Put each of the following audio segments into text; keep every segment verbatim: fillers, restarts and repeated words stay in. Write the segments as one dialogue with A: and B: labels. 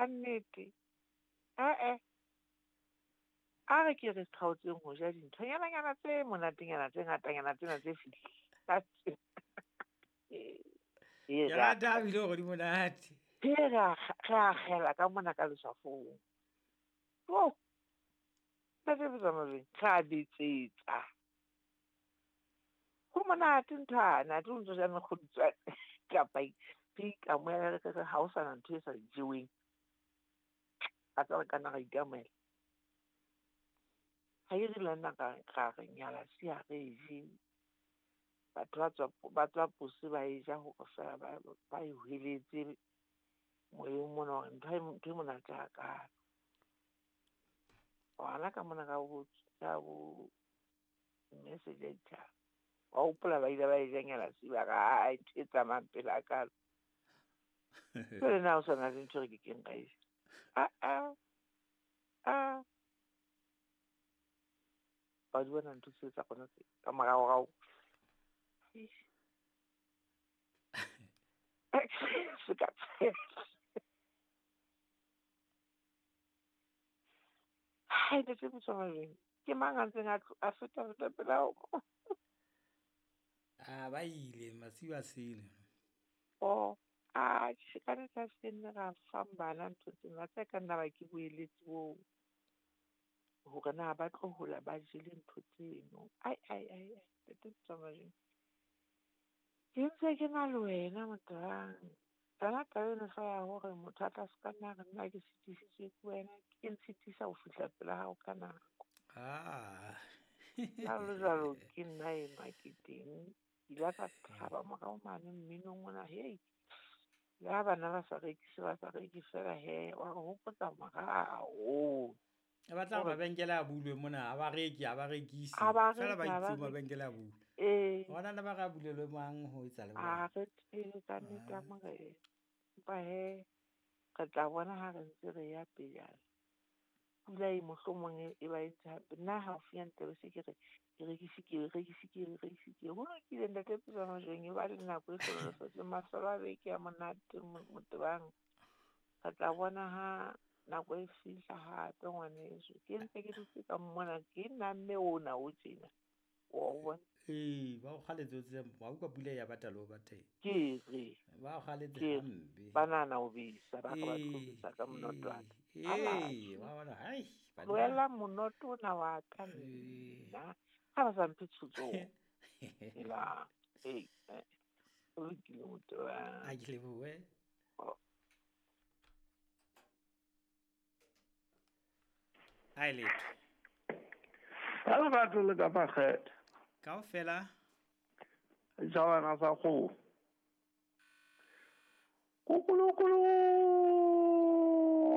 A: Ka nnete. Eh eh. A re ke re kgaotseng ho ja dinthonyana tse monatenyana tse ngatanyana tsena tse fihlang.
B: Ke rata ebile hore di monate.
A: Ke re a re akgela ka mona ka leswafong. Oh. Ntate Tsamajweng, re a betsetsa. Ho monate nthwana, athe o ntso ja mekgodutswane kapa re ikamohela re re ha ho sana ntho e sa jeweng. A tsa re kana ra ikamohela. Ha e re le nna ka ra re nyala si ha re je. Batho ba tswa ba tswa pose ba e ja hore fela ba ba e hweletse moyeng mona hore ntho e ntho e monate hakalo. Hona ka mona ka bo ka bo message ya ditjhaba. Wa hopola ba ile ba e ja nyala si ba re ai ntho e tsamayang pele hakalo. Jwale na ho sana le ntho e re kekeng ra e ja. Ah ah. Ah. Wa di bona ntho tseo tsa rona tse ka moraorao. Se ka tshela. Hai, ntate Motsamajweng, ke mang a ntseng a a feta feta pela hao mo?
B: Ah, ba ile masiu a sele.
A: Oh, atjhe ka nnete ha se nne ra fang bana ntho tsena, tse ka nna ba ke boeletsi boo. Hore na ba tlo hola ba jele ntho tseno. Ai ai ai ai, ntate Motsamajweng. Ke ntse ke na le wena motho. Tsona taba eno feela ya hore motho a tla ska nna re nna ke sitisitswe ke wena, ke ntshitisa ho fihla pela hao ka nako.
B: Ah.
A: Jwalo jwalo ke nna enwa ke teng. Ke ile ka thaba morao mane mminong ona, hei. Le ha bana ba sa rekise ba sa reke feela hee, wa re hopotsa morao.
B: Ba batla hore mabenkele a bulwe mona, ha ba reke, ha ba rekise.
A: Ha ba
B: Feela ba
A: reke, ha ba
B: itse
A: reke.
B: Mabenkele a bulwe.
A: Ee.
B: Hona le ba re a bulelwe mang ho etsa le
A: Ha
B: bona.
A: re tsebe ka nnete ya
B: Ah.
A: Morena. Empa hee, re tla bona ha re ntse re ya pejana. Pula e mohlomong e e ba entse hampe. Nna haufinyane tla be se ke re ke rekise ke rekise ke rekise ke. Ho lokile ntate Tsamajweng, e ba le nako e hlohonolofetseng. Mafelo a beke a monate Motebang. Re tla bona ha nako e fihla hape ngwaneso. Ke ntse ke dutse ka mona, ke nna mme ona o tjena. Wa o bona?
B: Ee, ba o kgaletse o tsebe, wa utlwa pula ya bata le ho bateng.
A: Ke re.
B: Ba o kgaletse
A: Ke re
B: hampe.
A: ba nahana ho besa, ba re ba tlo
B: Ee,
A: besa ka monotwana.
B: ee,
A: Ala
B: ee, wa bona, hai, banna.
A: Tlohela monoto ona wa ka
B: Ee.
A: nna. Ha ba sa mphe tshotso. Helang. Ee, eh. Ho lokile Motebang.
B: A ke lebohe.
A: Oh.
B: Ai letho.
C: Ka lerato le ka makgethe.
B: Kaofela.
C: Setjhabana sa kgoho.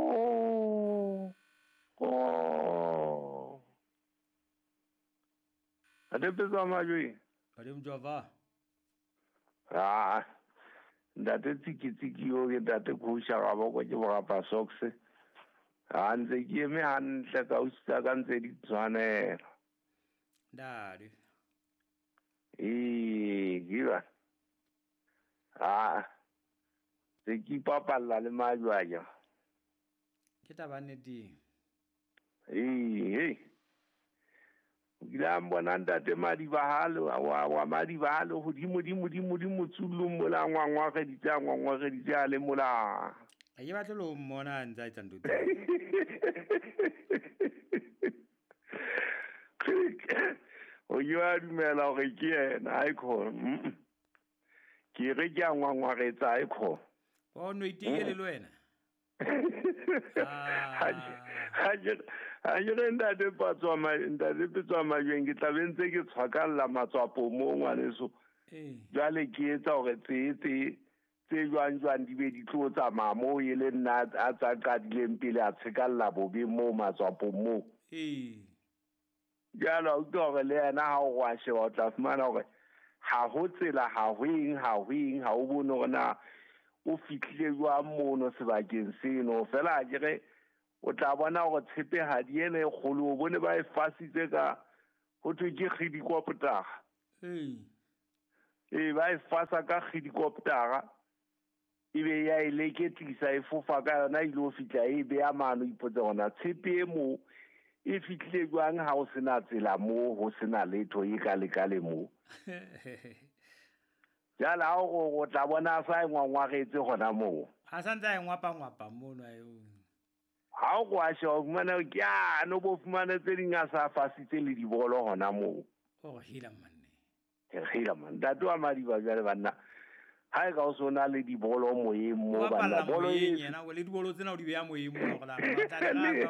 C: Kukulukulu. Ko. Ntate Tsamajweng.
B: Badimo Java.
C: Ah. Ntate Tsiki Tsiki yo ke ntate Kgosha ga boko ke borapa socks. Ha ntse ke eme hantle ka utlwisisa ka ntse di tshwanela.
B: Ntate.
C: Ee, ke ba. Ah. Se ke ipapalla le majwanya.
B: Ke taba nnete.
C: Ee, hey. O kile a mbona ntate Madibahalo, wa wa Madibahalo hodimo dimo dimo dimo tsullung mola ngwangwareditse a ngwangwareditse a le mola.
B: Ha ke batle le ho mmona a ntse a etsa ntho tseo.
C: O ke wa dumela hore ke yena, ha e khona. Mm. Ke re ke a ngwangwaretsa, ha e khona.
B: Wa o no itekele le wena?
C: Ha ke ha ke re ntate Patswa ma- ntate Petswa Majweng, ke tla be ntse ke tshwakalla matswapo mo ngwaneso.
B: Ee.
C: Jwale ke etsa hore tse tse tse jwang jwang di be di tlo tsamaya moo e le nna a tsa qadileng pele a tshekalla bobe moo matswapong moo.
B: Ee.
C: Jwale wa utlwa hore le yena ha o wa sheba o tla fumana hore ha ho tsela, ha ho eng, ha ho eng, ha o bone hore na o fihlile jwang mono sebakeng seno. Feela ha ke re o tla bona hore tshepehadi ena e kgolo, o bone ba e fasitse ka ho thwe ke kgidikoptara.
B: Ee.
C: Ee, ba e fasa ka kgidikoptara. Ebe ya e leketlisa e fofa ka yona ile ho fihla e beya mano ipotse hona tshepe e mo e fihlile jwang ha o sena tsela moo ho sena letho e ka lekale moo. Jwale ha o tla bona a sa e ngwangwaretse hona moo.
B: A sa ntse a e ngwapangwapa mono a eo.
C: Ha o kwa sheba o fumana ke a no bo fumane tse ding a sa fasitse le dibolo hona moo.
B: Oh hela manne.
C: Hela man. Ntate wa Madiba jwale banna. Ha e ka o sona le dibolo moyeng mo banna bolo e
B: yena le dibolo tsena o di beya moyeng mo hore la ba tla re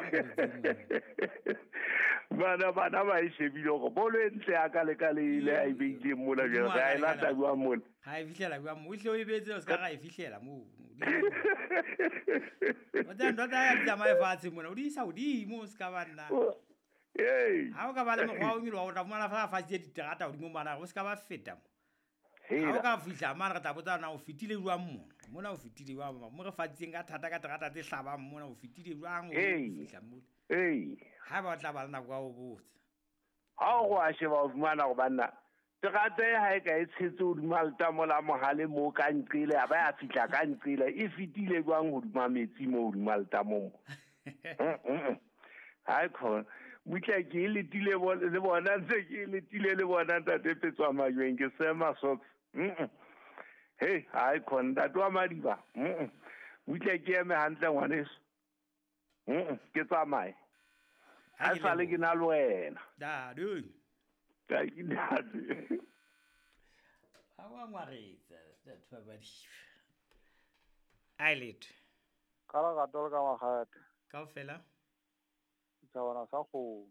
B: ba
C: bana bana ba e shebile hore bolo e ntle ya ka le ka le ile a e beileng mola jwale ga e lata jwang mola.
B: Ha e fihlela jwang mo o hle o e beetse o se ka ra e fihlela moo. O tla ntwa tsa tsamaye fatshe mona o di isa hodimo o se ka ba nna.
C: Hey.
B: Ha o ka ba le mokgwa o nyoloha o tla fumana fa fatshe diterata hodimo mana o se ka ba feta mo. Ha o ka fihla mane re tla botsa na o fetile jwang mona. Mona o fetile jwang mo re fatseng ka thata ka terata tse hlabang mona o fetile jwang o fihla mona.
C: Hey.
B: Ha ba tla ba le nako ya ho botsa.
C: Ha o a sheba o fumana hore banna terata e ha e ka e tshetse hodima letamo la mohale moo ka nqele a ba ya fihla ka nqele e fetile jwang hodima metsi moo hodima letamo mo. Ha khona butle ke letile le bona ntse ke letile le bona ntate Petswa Majweng ke sema socks. Hey, ha khona ntate wa Madiba. Butle ke eme hantle ngwaneso. Ke tsamaye. Ha sale ke na le wena.
B: Da, du.
C: Ka ke ntate.
B: Ha wa ngwaretsa ntate wa Madiba. Ai letho.
D: Ka la ka ka magate.
B: Kaofela.
D: Tsa bona sa go.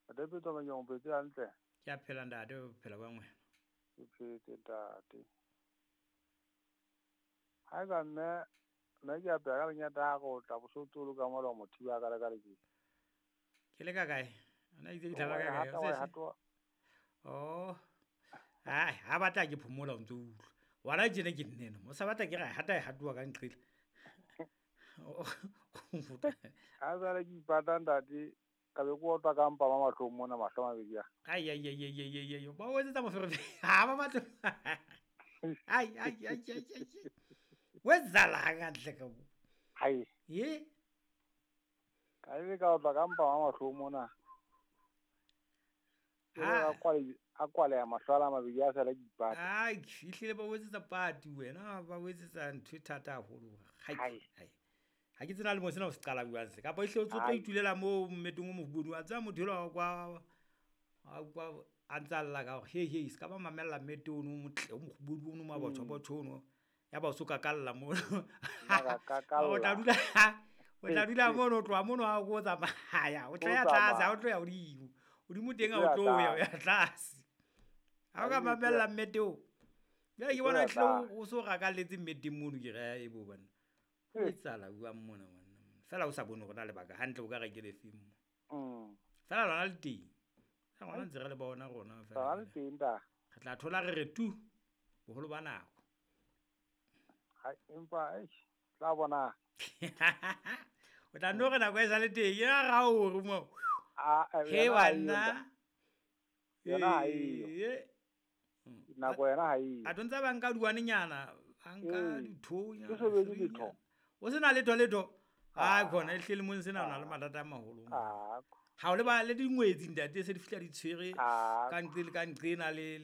D: Ntate Petswa Majweng o phetse hantle.
B: Ke a phela ntate o phela bang wena.
D: Ke phetse ntate. Ha ka mme mme ke a phela ka lenyata go tla bosotolo ka mola motho wa ka le ka le ke.
B: Ke le ka kae? Ana itse ke tlaba ka kae? Oh. Ai, ha batla ke phomola o ntse o utlwa. Wala tjena ke nnene. Mo sa batla ke re hata e hatuwa ka nqile.
D: Ha jwale ke ipata ntate ka be ko otwa ka mpa ma mahlong mona mahlo a mabedi a.
B: Ai ai ai ai ai ai ba o etsetsa moferefere. Ha ba batla. Ai ai ai ai ai. Wetsala hantle ka bo.
D: Hai.
B: Ye?
D: Ka be ka otwa ka mpa ma mahlong mona. Ha kwale a kwale ya mahlo a mabedi a sala ke ipata.
B: Ai, ehlile ba o etsetsa party wena, ba o etsetsa ntho e thata haholo. Hai. Hai. Ha ke tsena le mo sena o se qala buang se kapa ehle o tlo itulela mo mmetong o mofubedu a tsaya motho elwa kwa a kwa a ntsa lla ka hore he he se ka ba mamella mmete ono o motle o mofubedu ono mabotho botho ono ya ba o so kakalla mono o tla dula o tla dula mono o tloha mono ha o tsamaya o tla ya tlase ha o tlo ya hodimo hodimo teng ha o tlo ya ya tlase ha o ka mamella mmete o jwale ke bona ehle o so rakalletse mmeteng mono ke re e bo bana. O tsala bua mona ngwana. Fela o sa bone hore na lebaka hantle o ka re ke le feng mo.
D: Mm.
B: Fela lona le teng. Ha ngwana ntse re le bona rona fela.
D: Le teng da.
B: Re tla thola re re tu boholo ba nako.
D: Ha empa eish tla bona.
B: O tla no re nako e sa le teng ya ra o re mo.
D: A
B: he bana.
D: Yona ha eyo. Nako yona ha eyo.
B: A tontsa ba nka duwanenyana, ba nka dithonya.
D: Ke sebedi letho.
B: O sena letho letho. Ha khona ehle le mong sena o na le mathata a maholo. Ha o le ba le dingwetsi ntate se di fihla di tshwere ka ntle le ka nqena le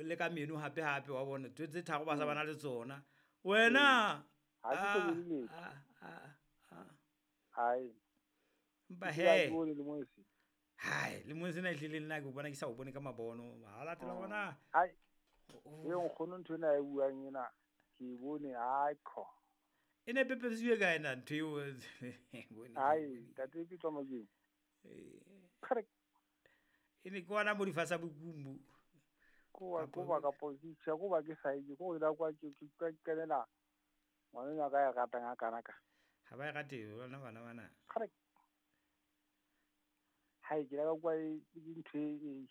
B: le ka meno hape hape wa bona tse tharo ba sa bana le tsona. Wena
D: ha ke sebedi letho. Hai.
B: Mpa he. Hai, le mong sena ehle le nna ke bona ke sa o bone ka mabono. Ha latela bona.
D: Hai. E nkgono ntho ena e buang ena ke bone hai kho.
B: E ne pepesiwe ka ena ntho eo bone.
D: Hai, ntate Petswa Majweng.
B: Eh.
D: Correct.
B: E ne ke ona mo difasa bokumbu.
D: Ko wa ko ba ka position ko ba ke sa itse ko ila kwa ke ke kenela ngwana ka ya ratang a kana ka.
B: Ha ba e rate bona bana bana.
D: Correct. Hai ke la kwa e ntho e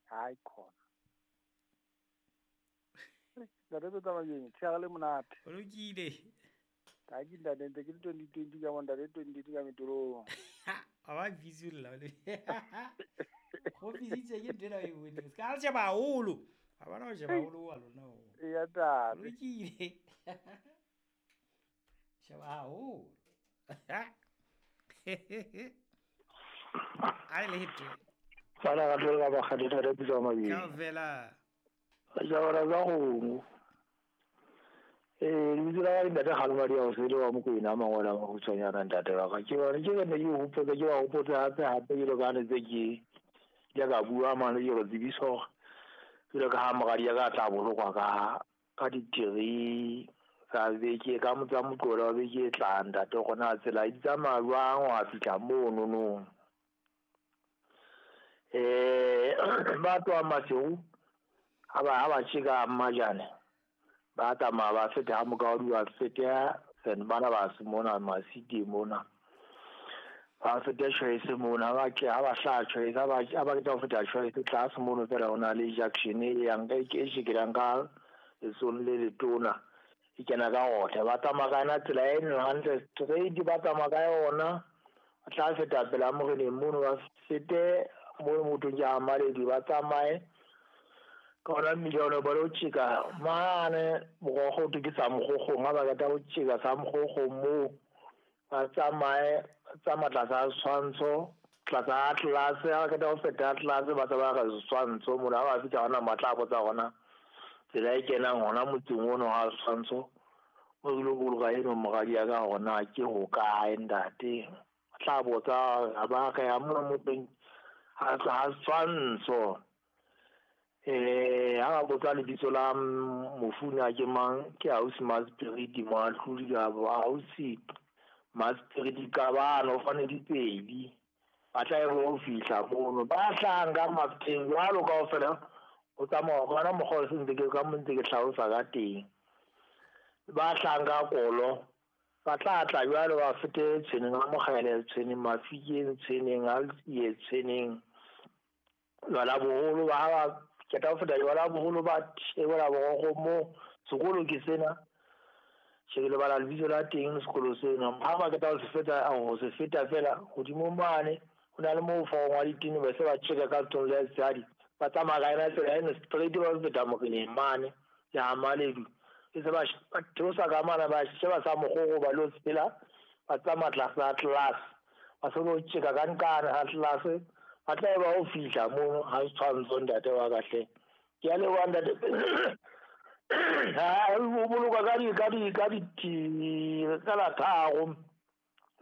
D: hai khona. Ntate Petswa Majweng, tsheare le monate.
B: O lokile.
D: Ka ke ntate ntse ke le twenty twenty ka bona ntate twenty twenty ka metorong.
B: A ba visual la. Go fisitse ke ntho ena e boneng. Se ka sheba haholo. A bona ho sheba haholo wa lona o.
D: Eya ntate.
B: Lokile. Sheba haholo. A le hete.
E: Fana ka tlola ba kgathe re bitsa mabedi.
B: Kaofela.
E: Jawara za go. Eh lebitso la ka ntate Kgalomadi a o sele wa Mokwena mangwela a makgutshwanyana ntate wa ka. Ke bona ke ne ke hopotse ke wa hopotse hape hape ke lo ka ne tse ke ya ka bua mane ke go tsebisa hore jwalo ka ha moradi ya ka tla bolokwa ka ka di-three tsa beke ka motsa Moqebelo wa beke e tlang ntate hore na tsela di tsamaya jwang ho fihla mono no. Eh ba tloha Maseru ha ba ha ba tjeka Mmajane ba tsamaya ba feta ha Mokaodi ba feta Senbana ba se mona Masidi mona ba feta Choice mona ba ke ha ba hlaha Choice ha ba ha ba qeta ho feta Choice tlase mono fela ho na le junction e yang e ke shekelang ka lesong le letona e kena ka ohle ba tsamaya ka yona tsela e hantle straight ba tsamaya ka yona ba tla feta pela moreneng mono ba fete mo mothong ya Maledi ba tsamaye ka ona mmila ba lo tjeka mane morogo ke sa mogogong ha ba qeta ho tjeka sa mogogong moo ba tsamaye tsamaya tlasa tshwantsho tlasa Atlas ha ba qeta ho feta Atlas ba tsamaya ka tshwantsho mona ha ba fihla hona matla a botsa hona tsela e kenang hona motseng ono ha tshwantsho mo ke lo boloka eno moradi ya ka hona ke hokae ntate tla botsa ba ka ya mona motseng ha ha tshwantsho eh ha ba botsa lebitso la mofuna ke mang ke ausi Maspirit Moahlodi ka ausi Maspirit Kabano fane dipedi ba tla e ho fihla mono ba hlang ka Mafeteng jwalo kaofela o tsamaya gona mokgwa o sentse ke ka mo ntse ke hlalosa ka teng ba hlang ka kolo ba tla tla jwalo ba fete tshweneng a Mokgele tshweneng Mafikeng tshweneng Altsie tshweneng jwala boholo ba ba qeta ho feta jwala boholo ba theola borokgo mo sekolo ke sena ke lebala lebitso la teng sekolo sena ha ba qeta ho se feta ho se feta fela hodimo mane ho na le moo fong wa ditene ba se ba tjeka ka tsong la tsadi ba tsamaya ka yona tsela eno straight ba feta moreneng mane ya Maledi ke se ba theosa ka mana ba sheba sa mogogo ba lo tsela ba tsamaya tlasa Atlas ba se lo tjeka ka nkana Atlas ba tla ba o fihla mono ha tshwantsho ntate wa ka hle ke a leboha ntate ha o boloka ka di ka di ka di ka la tharo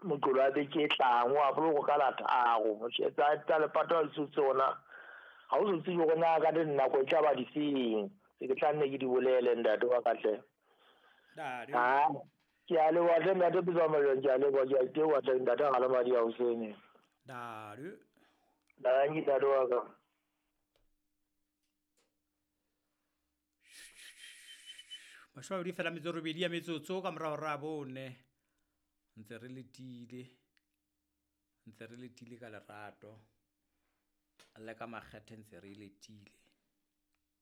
E: Moqebelo wa beke e tlang wa boloka ka la tharo motjhetsa tsa lepato le tsona ha o so tsebe hore na ka dinako e tla ba difeng se ke tla nne ke di bolele ntate wa ka hle ha ke a leboha hle ntate Pitso Majwang ke a leboha ke a teboha hle ntate Kgalomadi a hosene
B: Dare
E: Danki ntate wa ka.
B: Mashome a mabedi fela metso robedi ya metsotso ka morao ra bone ntse re letile ntse re letile ka lerato le ka makgethe ntse re letile.